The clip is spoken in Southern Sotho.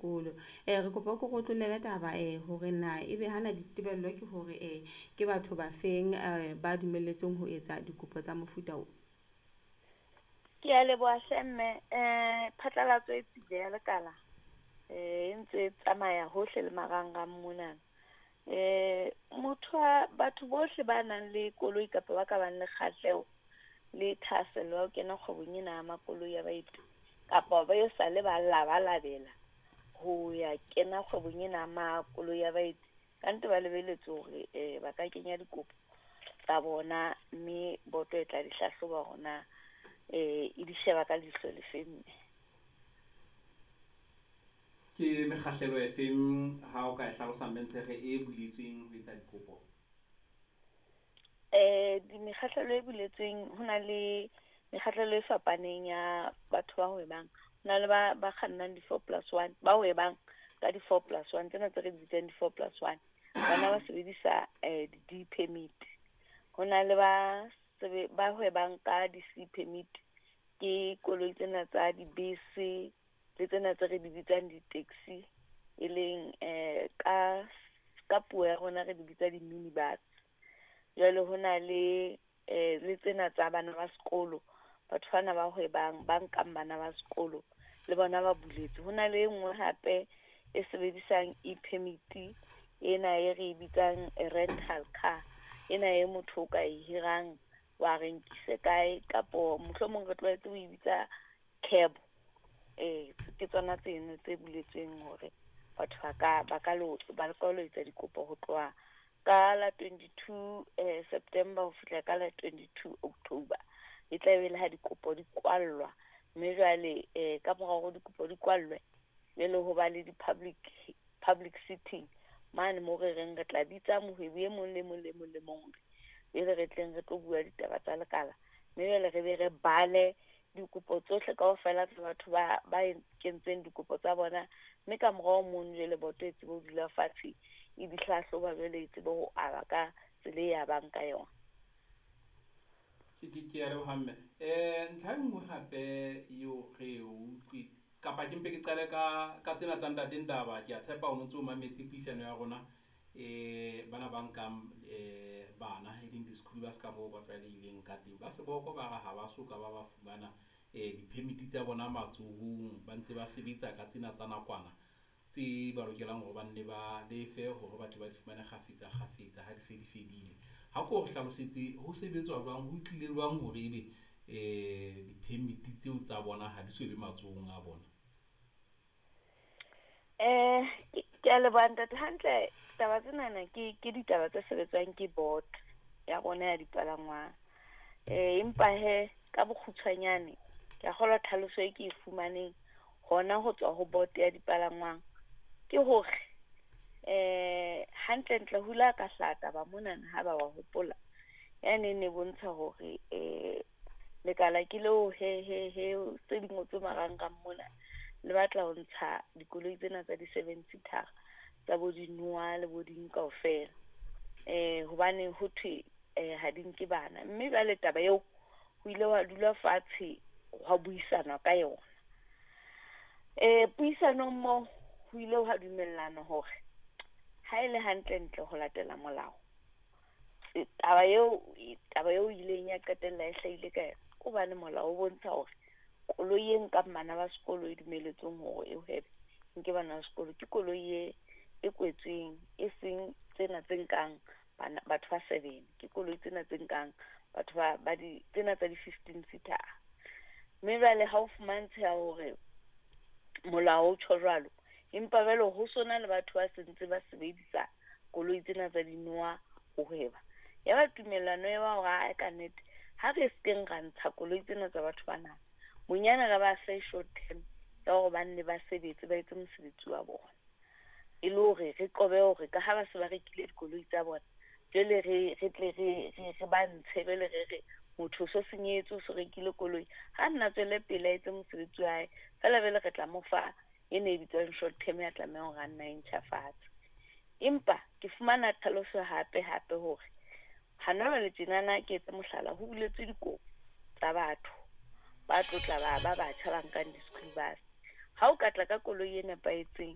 Sekolo. Re kopa o ko re otlollele taba hore na ebe hana ditebello ke hore ke batho ba feng ba dumelletsweng ho etsa dikopo tsa mofuta o? Ke a leboha hle mme, phatlalatso e tswile ya lekala e ntse e tsamaya hohle le marangrang mona. Motho wa batho bohle ba nang le koloi kapa ba ka bang le kgahleho le thahasello ya ho kena kgwebong ena ya makoloi a baeti, kapa ba e sale ba labalabela ho ya kena kgwebong ena ya makoloi a baeti. Kannete ba lebelletse hore ba ka kenya dikopo tsa bona, mme boto e tla di hlahloba hore na e di sheba ka leihlo le feng mme. Ke mekgahlelo e feng ha o ka e hlalosa Mme Ntshekge e buletsweng ho etsa dikopo? Mekgahlelo e buletsweng, ho na le mekgahlelo e fapaneng ya batho ba hwebang. Ho na le ba kgannang di-4+1, ba hwebang ka di-4+1, tsena tse re di bitsang di-4+1. Bona ba sebedisa di-D permit. Ho na le ba ba hwebang ka di-C permit, ke koloi tsena tsa dibese le tsena tse re di bitsang di-taxi, e leng ka puo ya rona re di bitsa di-minibus. Jwale ho na le le tsena tsa bana ba sekolo, batho bana ba hwebang ba nkang bana ba sekolo le bona ba buletswe. Ho na le e nngwe hape e sebedisang e-permit ena e re bitsang rental car, ena e motho o ka e hirang wa re nkise kae, kapo mohlomong re tlwaetse ho e bitsa cab. Ke tsona tseno tse buletsweng hore batho ba ka lo etsa dikopo ho tloha ka la 22 September ho fihla ka la 22 October. E tla be le ha dikopo di kwallwa, mme jwale ka mora hore dikopo di kwallwe, jwale ho ba le di-public sitting mane moo re reng re tla bitsa mohwebi e mong le mong le mong le mong, jwale re tleng re tlo bua ditaba tsa lekala, mme jwale re be re bale dikopo tsohle kaofela tsa batho ba kentseng dikopo tsa bona, mme ka morao mono jwale boto e tsebe ho dula fatshe e di hlahloba, jwale e tsebe ho aba ka tsela e abang ka yona. Ke a leboha mme. Ntlha e nngwe hape eo re e utlwe kapa ke mpe ke qale ka tsena tsa ntate Ndaba, ke a tshepa o ntso mametse puisano ya rona. Bana ba nkang bana e leng di-school bus ka moo ba tlwaelehileng ka teng, ba seboko ba re ha ba soka ba ba fumana di-permit tsa bona matsohong, ba ntse ba sebetsa ka tsena tsa nakwana tse ba lokelang hore ba nne ba lefe hore ba tle ba di fumane kgafetsa kgafetsa ha di se di fedile. Ha ko re hlalosetse ho sebetswa jwang, ho tlile jwang hore ebe di-permit tseo tsa bona ha di so be matsohong a bona? Ke a leboha ntate. Hantle taba tsenana ke ditaba tse sebetswang ke board ya rona ya dipalangwang. Empa hee ka bokgutshwanyane ke a kgolwa tlhaloso e ke e fumaneng hona ho tswa ho board ya dipalangwang ke hore hantle ntle ho ile ha ka hlaha taba monana ha ba wa hopola, yane e ne bontsha hore lekala ke leo he he he tse di ngotswe marangrang mona, le batla ho ntsha dikoloi tsena tsa di-seven seater tsa bo di-Noah le bo ding kaofela. Hobane ho thwe ha di nke bana, mme jwale taba eo ho ile wa dula fatshe hwa buisanwa ka yona. Puisanong moo ho ile hwa dumellana hore ha e le hantle ntle ho latela molao, taba eo ileng ya qetella e hlahile ka yona, ke hobane molao o bontsha hore koloi e nkang bana ba sekolo e dumelletsweng hore e hwebe nke bana ba sekolo ke koloi e kwetsweng, e seng tsena tse nkang bana batho ba seven, ke koloi tsena tse nkang batho ba di tsena tsa di-15 seater. Mme jwale ha o fumantsheha hore molao o tjho jwalo, empa jwale ho sona le batho ba sentse ba sebedisa koloi tsena tsa di-Noah ho hweba. Ya ba tumellano ya ba hore ae ka nnete ha re skeng ra ntsha koloi tsena tsa batho bana, bonyane re ba fe short term ya hore ba nne ba sebetse, ba etse mosebetsi wa bona, e le hore re qobe hore ka ha ba se ba rekile dikoloi tsa bona, jwale re tle re ba ntshe, jwale re re motho o so senyehetswe, o so rekile koloi, ha nna tswele pele a etse mosebetsi wa hae fela, jwale re tla mo fa ena e bitswang short term ya tlamehang hore a nna e ntjhafatse. Empa ke fumana tlhaloso hape hape hore hana jwale tjenana, ke etse mohlala, ho buletswe dikopo tsa batho ba tlo tla ba batjha ba nkang di-school bus. Ha o ka tla ka koloi e nepahetseng,